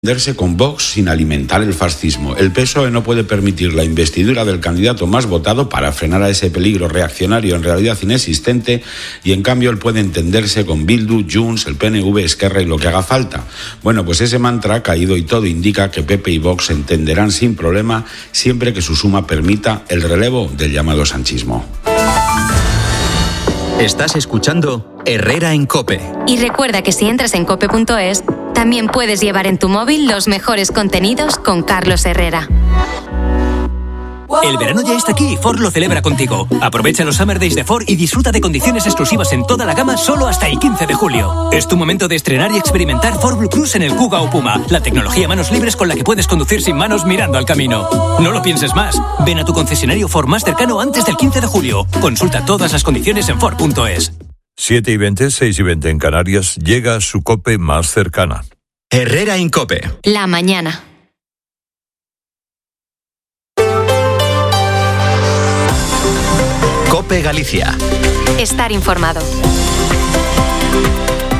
entenderse con Vox sin alimentar el fascismo. El PSOE no puede permitir la investidura del candidato más votado para frenar a ese peligro reaccionario en realidad inexistente, y en cambio él puede entenderse con Bildu, Junts, el PNV, Esquerra y lo que haga falta. Bueno, pues ese mantra ha caído y todo indica que PP y Vox se entenderán sin problema siempre que su suma permita el relevo del llamado sanchismo. Estás escuchando Herrera en COPE. Y recuerda que si entras en cope.es, también puedes llevar en tu móvil los mejores contenidos con Carlos Herrera. El verano ya está aquí y Ford lo celebra contigo. Aprovecha los Summer Days de Ford y disfruta de condiciones exclusivas en toda la gama solo hasta el 15 de julio. Es tu momento de estrenar y experimentar Ford Blue Cruise en el Kuga o Puma, la tecnología manos libres con la que puedes conducir sin manos mirando al camino. No lo pienses más. Ven a tu concesionario Ford más cercano antes del 15 de julio. Consulta todas las condiciones en Ford.es. 7:20, 6:20 en Canarias, llega a su COPE más cercana. Herrera en COPE. La mañana. COPE Galicia. Estar informado.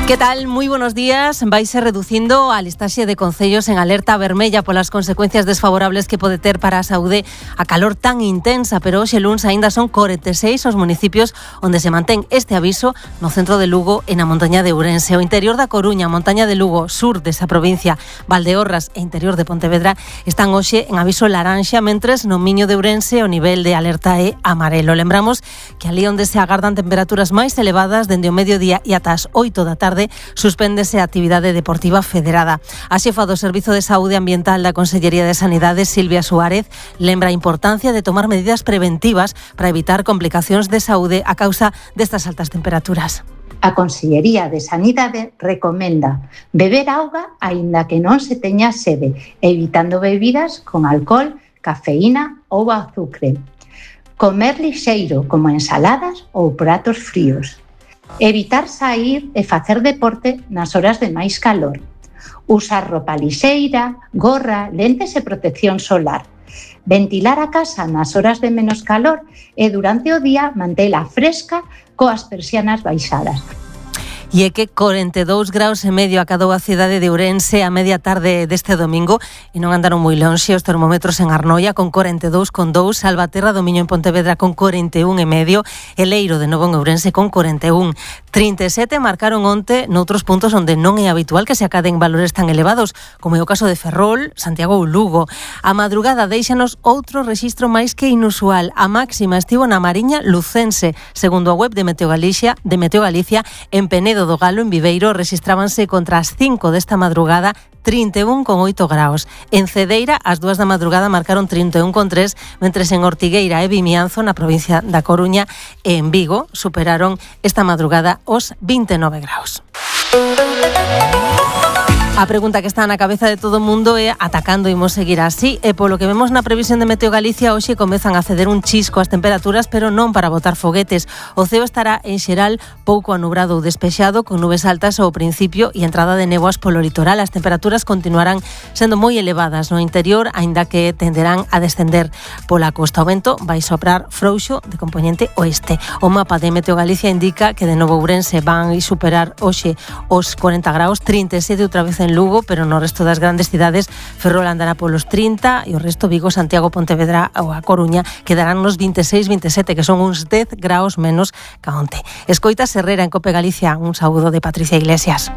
¿Qué tal? Muy buenos días. Vais reducindo a listaxe de concellos en alerta vermella polas consecuencias desfavorables que pode ter para a saúde a calor tan intensa, pero hoxe luns aínda son 46 os municipios onde se mantén este aviso no centro de Lugo e na montaña de Ourense. O interior da Coruña, montaña de Lugo, sur desa provincia, Valdeorras e interior de Pontevedra están hoxe en aviso laranxa, mentres no Miño de Ourense o nivel de alerta é amarelo. Lembramos que ali onde se agardan temperaturas máis elevadas dende o mediodía e ata as 8 da tarde suspéndese a actividade deportiva federada. A xefa do Servizo de Saúde Ambiental da Consellería de Sanidade, Silvia Suárez, lembra a importancia de tomar medidas preventivas para evitar complicacións de saúde a causa destas altas temperaturas. A Consellería de Sanidade recomenda beber auga aínda que non se teña sede, evitando bebidas con alcohol, cafeína ou azucre. Comer lixeiro, como ensaladas ou pratos fríos. Evitar sair e facer deporte nas horas de máis calor. Usar roupa lixeira, gorra, lentes e protección solar. Ventilar a casa nas horas de menos calor e durante o día mantela fresca coas persianas baixadas. E é que 42 graus e medio acadou a cidade de Ourense a media tarde deste domingo e non andaron moi lonxe os termómetros en Arnoia con 42,2, Salvaterra do Miño en Pontevedra con 41,5, e Leiro de novo en Ourense con 41. 37 marcaron onte noutros puntos onde non é habitual que se acaden valores tan elevados, como é o caso de Ferrol, Santiago ou Lugo. A madrugada deixanos outro rexistro máis que inusual. A máxima estivo na Mariña Lucense, segundo a web de Meteo Galicia, en Penedo do Galo, en Viveiro, rexistrábanse contra as 5 desta madrugada 31,8 graus. En Cedeira, ás 2 da madrugada marcaron 31,3, mentres en Ortigueira e Vimianzo, na provincia da Coruña, e en Vigo, superaron esta madrugada os 29 graus. A pregunta que está na cabeza de todo o mundo é atacando imos seguir así, e polo que vemos na previsión de Meteo Galicia hoxe comezan a ceder un chisco as temperaturas, pero non para botar foguetes. O ceo estará en xeral pouco anubrado ou despexado, con nubes altas ao principio e entrada de néboas polo litoral. As temperaturas continuarán sendo moi elevadas no interior, aínda que tenderán a descender pola costa. O vento vai soprar frouxo de compoñente oeste. O mapa de Meteo Galicia indica que de novo Ourense van superar hoxe os 40 graus, 37 outra vez en Lugo, pero no resto das grandes cidades Ferrol andará polos 30 e o resto Vigo, Santiago, Pontevedra ou a Coruña quedarán nos 26, 27, que son uns 10 graus menos que onte. Escoitas Herrera en COPE Galicia, un saúdo de Patricia Iglesias.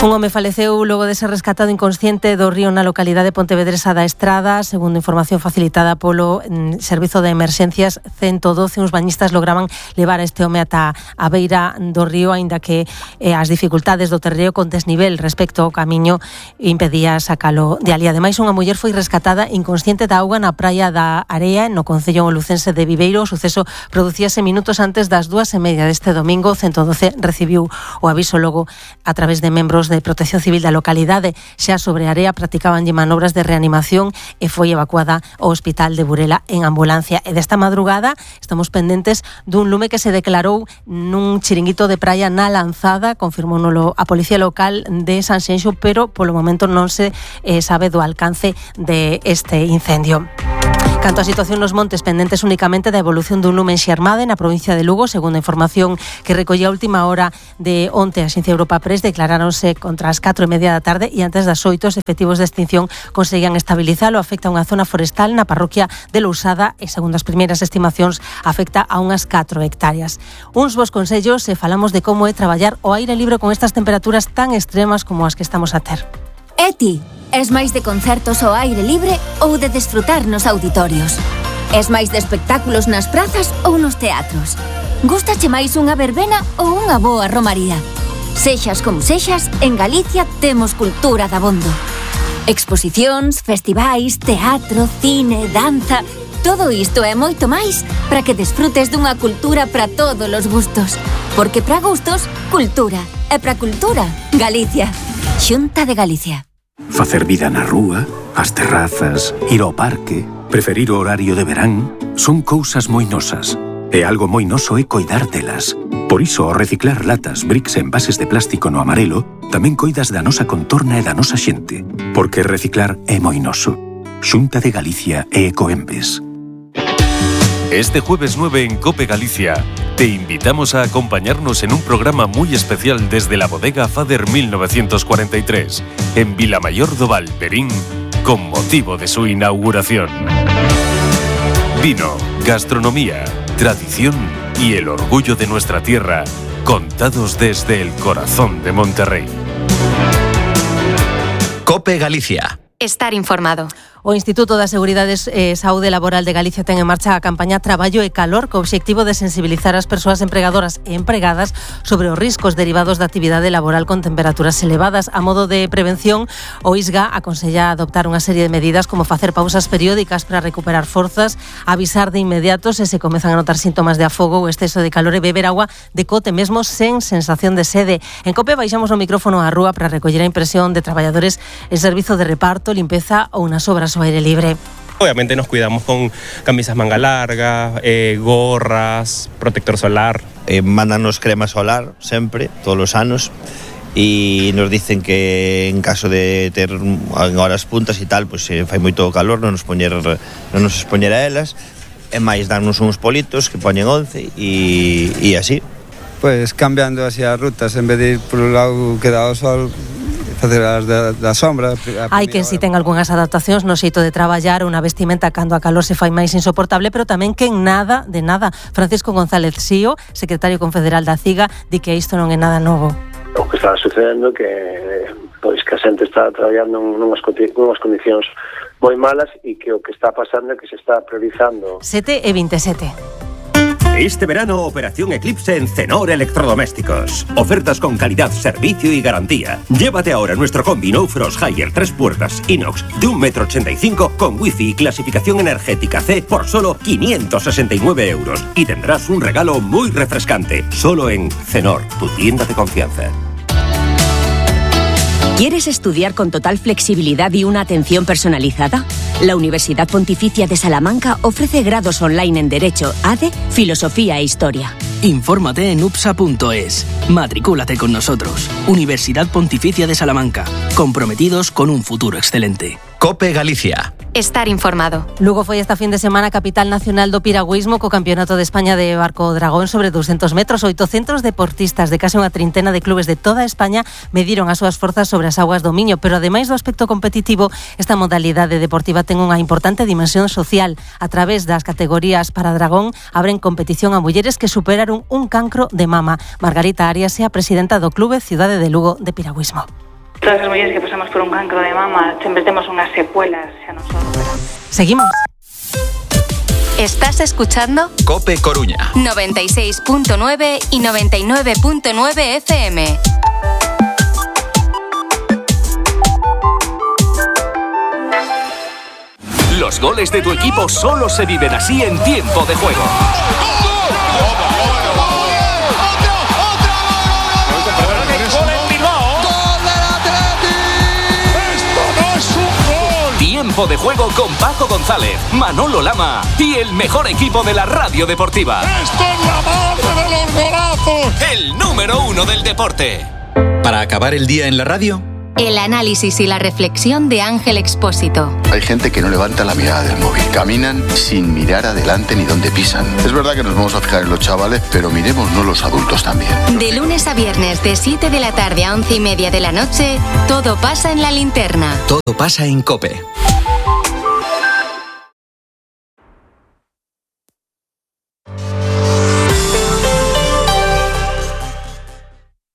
Un home faleceu logo de ser rescatado inconsciente do río na localidade pontevedresa da Estrada, segundo información facilitada polo Servizo de Emerxencias 112. Uns bañistas lograban levar a este home ata a beira do río, aínda que as dificultades do terreo con desnivel respecto ao camiño impedía sacalo de ali. Ademais, unha muller foi rescatada inconsciente da auga na praia da Area, no concello lucense de Viveiro. O suceso producíase minutos antes das 2:30 deste domingo. 112 recibiu o aviso logo a través de membros de Protección Civil da localidade. Xa sobre a Area practicabanlle manobras de reanimación e foi evacuada ao hospital de Burela en ambulancia. E desta madrugada estamos pendentes dun lume que se declarou nun chiringuito de praia na Lanzada, confirmouno a Policía Local de Sanxenxo, pero polo momento non se sabe do alcance de este incendio. Canto a situación nos montes, pendentes únicamente da evolución dun lume enxermade na provincia de Lugo, segundo a información que recollía a última hora de onte a Axencia Europa Press, declaráronse contra as 4:30 da tarde e antes das 8 os efectivos de extinción conseguían estabilizalo. Afecta a unha zona forestal na parroquia de Lousada e, segundo as primeiras estimacións, afecta a unhas 4 hectáreas. Uns bons consellos se falamos de como é traballar ao aire libre con estas temperaturas tan extremas como as que estamos a ter. E ti, es máis de concertos ao aire libre ou de desfrutar nos auditorios? Es máis de espectáculos nas prazas ou nos teatros? Gústache máis unha verbena ou unha boa romaría? Sexas como sexas, en Galicia temos cultura dabondo. Exposicións, festivais, teatro, cine, danza... Todo isto e moito máis para que desfrutes dunha cultura para todos os gustos. Porque para gustos, cultura. E para cultura, Galicia. Xunta de Galicia. Facer vida na rúa, as terrazas, ir ao parque, preferir o horario de verán, son cousas moi nosas. E algo moi noso é coidar delas. Por iso, ao reciclar latas, bricks e envases de plástico no amarelo, tamén coidas da nosa contorna e da nosa xente. Porque reciclar é moi noso. Xunta de Galicia e Ecoembes. Este jueves 9 en COPE Galicia te invitamos a acompañarnos en un programa muy especial desde la bodega Fader 1943 en Vilamayor do Val, Verín, con motivo de su inauguración. Vino, gastronomía, tradición y el orgullo de nuestra tierra, contados desde el corazón de Monterrey. COPE Galicia. Estar informado. O Instituto da Seguridade e Saúde Laboral de Galicia ten en marcha a campaña Traballo e Calor co obxectivo de sensibilizar as persoas empregadoras e empregadas sobre os riscos derivados da actividade laboral con temperaturas elevadas. A modo de prevención, o ISGA aconsella adoptar unha serie de medidas como facer pausas periódicas para recuperar forzas, avisar de inmediato se comezan a notar síntomas de afogo ou exceso de calor e beber agua de cote mesmo sen sensación de sede. En COPE baixamos o micrófono á rúa para recoller a impresión de traballadores en servizo de reparto, limpeza ou nas obras ao aire libre. Obviamente nos cuidamos con camisas manga larga, gorras, protector solar. Mándanos crema solar sempre, todos os anos, e nos dicen que en caso de ter en horas puntas e tal, pues fai moito calor, non nos expoñer a elas, e máis darnos uns politos que poñen 11 e así. Pues cambiando así as rutas, en vez de ir por un lado que dá o sol, facer as da sombra. Hai quen si ten algunhas adaptacións no xeito de traballar, unha vestimenta cando a calor se fai máis insoportable, pero tamén quen nada de nada. Francisco González Sío, secretario confederal da CIGA, di que isto non é nada novo. O que está sucedendo que pois que a xente está traballando nunhas condicións moi malas e que o que está pasando é que se está priorizando. 7:27. Este verano, Operación Eclipse en Cenor Electrodomésticos. Ofertas con calidad, servicio y garantía. Llévate ahora nuestro combi No Frost Higher 3 puertas inox de 1,85 m con wifi y clasificación energética C por solo 569 euros. Y tendrás un regalo muy refrescante. Solo en Cenor, tu tienda de confianza. ¿Quieres estudiar con total flexibilidad y una atención personalizada? La Universidad Pontificia de Salamanca ofrece grados online en Derecho, ADE, Filosofía e Historia. Infórmate en upsa.es. Matricúlate con nosotros. Universidad Pontificia de Salamanca. Comprometidos con un futuro excelente. COPE Galicia. Estar informado. Lugo foi esta fin de semana capital nacional do piragüismo co Campeonato de España de Barco Dragón sobre 200 metros. 800 deportistas de case unha trintena de clubes de toda España mediron as súas forzas sobre as augas do Miño, pero ademais do aspecto competitivo, esta modalidade deportiva ten unha importante dimensión social. A través das categorías para dragón abren competición a mulleres que superaron un cancro de mama. Margarita Arias é a presidenta do Clube Cidade de Lugo de Piragüismo. Todas as mulleres que pasamos por un cancro de mama sempre temos unhas secuelas xa non son. Seguimos. Estás escuchando COPE Coruña 96.9 y 99.9 FM. Los goles de tu equipo solo se viven así en tiempo de juego. Tiempo de juego con Paco González, Manolo Lama y el mejor equipo de la radio deportiva. ¡Esto es la madre de los golazos! El número 1 del deporte. Para acabar el día en la radio, el análisis y la reflexión de Ángel Expósito. Hay gente que no levanta la mirada del móvil. Caminan sin mirar adelante ni dónde pisan. Es verdad que nos vamos a fijar en los chavales, pero miremosnos los adultos también. De lunes a viernes, de 7 de la tarde a 11:30 de la noche, todo pasa en La Linterna. Todo pasa en COPE.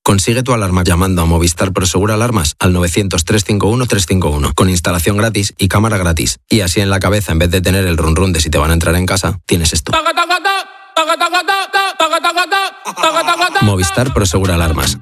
Consigue tu alarma llamando a Movistar Prosegur Alarmas al 900-351-351 con instalación gratis y cámara gratis. Y así en la cabeza, en vez de tener el run run de si te van a entrar en casa, tienes esto. Movistar Prosegur Alarmas.